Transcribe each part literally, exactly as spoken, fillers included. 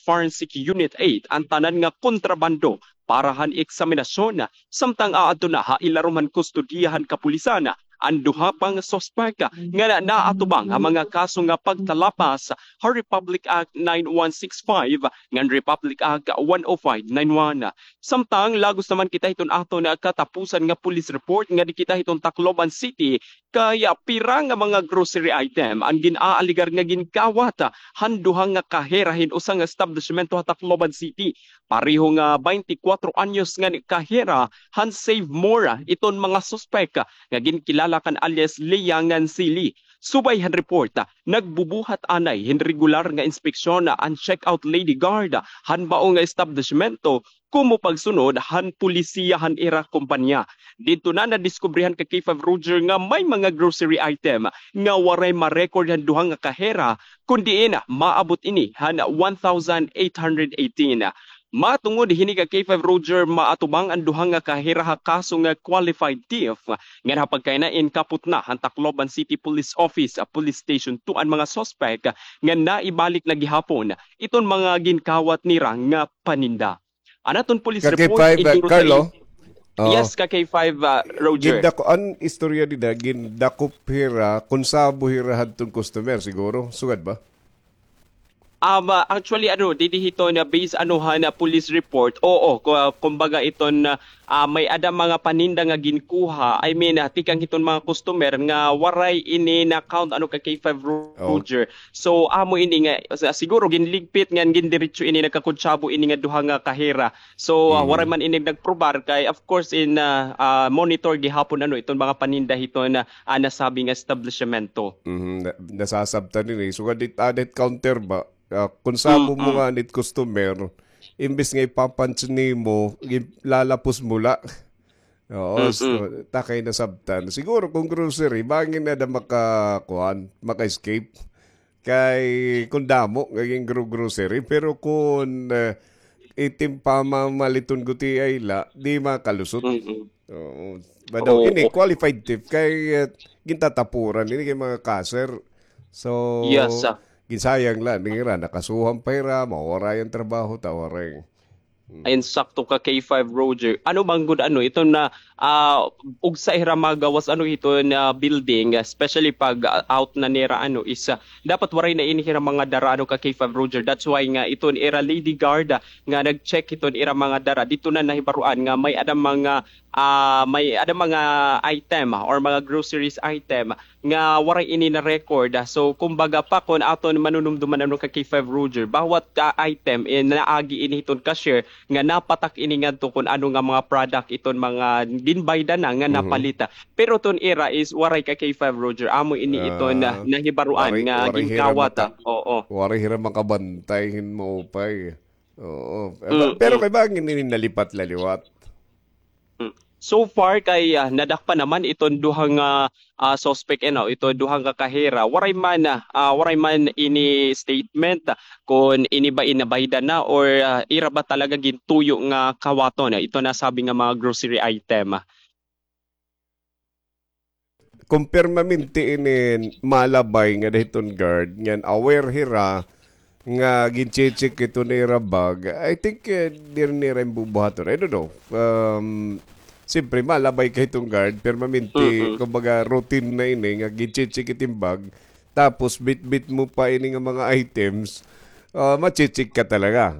Forensic Unit eight an tanan nga kontrabando para han eksaminasyon, samtang aadto na ha ilarom han kustodiya han kapulisan an duha pa nga suspek nga na-, naatubang ha mga kaso nga pagtalapas ha Republic Act nine one six five ngan Republic Act one oh five nine one. Samtang lagos naman kita hiton aton katapusan nga police report nga di kita hiton Tacloban City, kay, ah, pira nga mga grocery item an gin-aaligar nga ginkawat, ah, han duha nga kahera hin usa nga establisimento ha Tacloban City. Pareho nga baynte kwatro anyos nga kahera han Save More, ah, iton mga suspek, ah, nga ginkilala kan alias Lea ngan Sili. Subay han report, ah, nagbubuhat anay hin regular nga inspeksyon, ah, an checkout lady guard, ah, han mao nga establisimento, komo pagsunod han pulisiya han ira kompanya. Didto na nadiskubrihan ka K five Roger nga may mga grocery item nga waray ma-record han duha nga kahera, kun diin maabot ini han one thousand eight hundred eighteen. Matungod hini ka K five Roger, maatubang an duha nga kahera ha kaso nga qualified thief, ngan ha pagkainain kapot na han Tacloban City Police Office, ah, Police Station two an mga suspek nga naibalik na gihapon iton mga ginkawat nira nga paninda. An aton police report, K five, ah, Carlo? Oo. Yes, ka K five, ah, Roger. Gindako-, an istorya dida, gindakop hira, konsabo hira hadton customer, siguro. Sugad ba? Um, ah, actually, ano, didi hiton, ah, based, ano, ha, na police report, oo, ku-, ah, kumbaga iton, ah, ah, may-ada mga paninda nga ginkuha, I mean, ah, tikang hiton mga customer nga waray ini na-count, ano, ka K five Roger. So, amo ini nga, sa-, siguro ginligpit ngan gindiretso ini, nagkakontsabo ini nga duha nga kahera. So, ah, waray man ini nagprobar kay, of course, in, ah, ah, monitor gihapon, ano, iton mga paninda hiton, ah, ah, nasabi nga establisimento. Mhm, na-, nasasabtan ini. Sugad it, ah, it counter ba? Ah, konsabo mo ngani it customer, imbes nga ipapunch nimo, lalapos mo la. Oo, so, takay nasabtan. Siguro kon grocery, bangin na da maka-, kuan, maka-escape. Kay kon damo nga gingro-grocery, pero kon, eh, itim pamamaliton gutiay la, di makalusot. Oo. Ba daw, ini, qualified thief kay, eh, gintatapuran ini kay mga cashier. So, ginsayang la nira, nakasuhan pa hira, mawara an trabaho, ta waray. Ay, insakto ka, K five Roger. Ano man gud, ano, iton na, ah, ugsa hira magawas, ano, hiton, ah, building, especially pag, ah, out na nira, ano, is, ah, dapat waray na ini hira mga dara, ano, ka K five Roger. That's why nga iton ira lady guard, ah, nga nag-check hiton ira mga dara. Didto na nahibaroan nga may-ada mga, ah, may-ada mga item, ah, or mga groceries item nga waray ini na-record. So, kumbaga pa, kon aton manunumduman, ano, ka K five Roger, bawat, ah, item, eh, naagi ini hiton cashier nga napatak ini ngadto kon ano nga mga product iton mga ginbayda na nga napalita. Pero iton ira is waray, ka K five Roger, amo ini iton na nahibaroan nga ginkawat. Oo. Waray hira makabantay hin maupay. Oo. Pero kay bangin ini nalipat la liwat. So far kay, ah, nadakpan naman iton duha nga, ah, suspect, ano, ito duha nga kahera. Waray man, ah, waray man ini statement, ah, kon ini ba ini nabayda na or, ah, ira ba talaga gintuyo nga kawaton, ah, ito nasabi nga mga grocery item. Kon permanente ini malabay nga dahiton guard, ngan aware hira nga gin-check ito nira bag, I think, eh, diri nira bubuhaton. I don't know. Um, siyempre, malabay ka hiton guard, permanente, kumbaga, routine na ini, nga gin-check it im bag, tapos bitbit mo pa ini nga mga items, ah, ma-check ka talaga.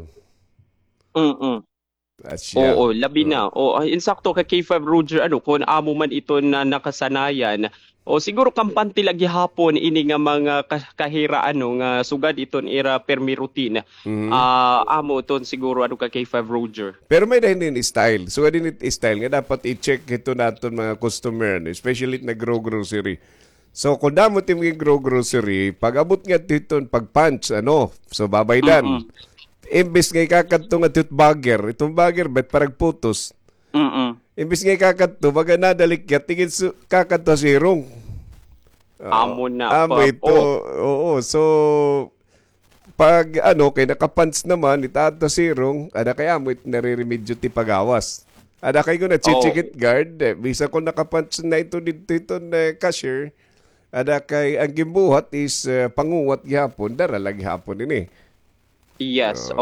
Oo, labi na. O, ah, insakto ka K five Roger, ano, kon amo man iton nakasanayan. O, siguro kampante la gihapon ini nga mga ka-, kahera, ano, nga sugad iton ira permi routine. Ah, amo iton siguro, ano, ka K five Roger. Pero may-ada hini style. Sugad ini style nga dapat i-check hiton aton mga customer, no? Especially nagro-grocery. So, kon damo it im gingro-grocery, pag-abot ngadto hiton pag-punch, ano, so, babaydan. Imbes nga ikakadto ngadto hit bagger, iton bagger ba it paragputos. Imbes nga ikakadto, baga nadalikyat, tigid su-, kakadto ha sirong. Oo. Amo na, amo ito. Oo, so, pag, ano, kay naka-punch naman, itaad ha sirong, ada kay amo it nariremedyo it pagawas. Ada kay kon na-check it guard, eh, bisan kon naka-punch na ito didto hiton, eh, cashier, ada kay an ginbuhat is, eh, panguwat gihapon, dara la gihapon ini. Yes, oo.